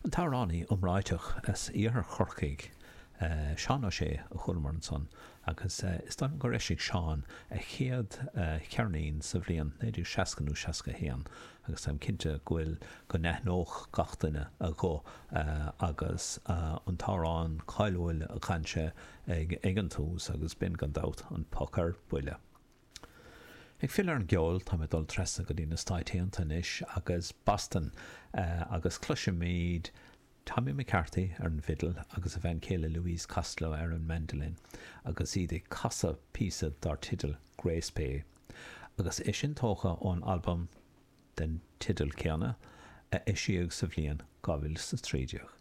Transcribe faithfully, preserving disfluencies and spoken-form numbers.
An t-amhránaí iomráiteach as iarthar Chorcaí, Seán Ó Sé a chualamar ansan agus is dóigh liom gur eisigh Seán a chéad cheirnín sa bhliain naoi déag seasca nó seasca a haon agus táim cinnte go bhfuil, go n-aithneodh gach duine a ghuth agus an t-amhrán cáiliúil a chan sé ag ag an tús agus b'in gan dabht An Poc ar Buile. Ag filleadh ar an gceol, táim ag dul trasna go dtí na Stáit Aontaithe anois agus Boston agus cloisfimid Tommy McCarthy ar an bhfidil agus a bhean chéile Louise Costello ar an mandolin agus iad ag casadh píosa dar teideal Grace Bay agus é sin tógtha ón albam den teideal céanna a eisíodh sa bhliain dhá mhíle is a trí déag.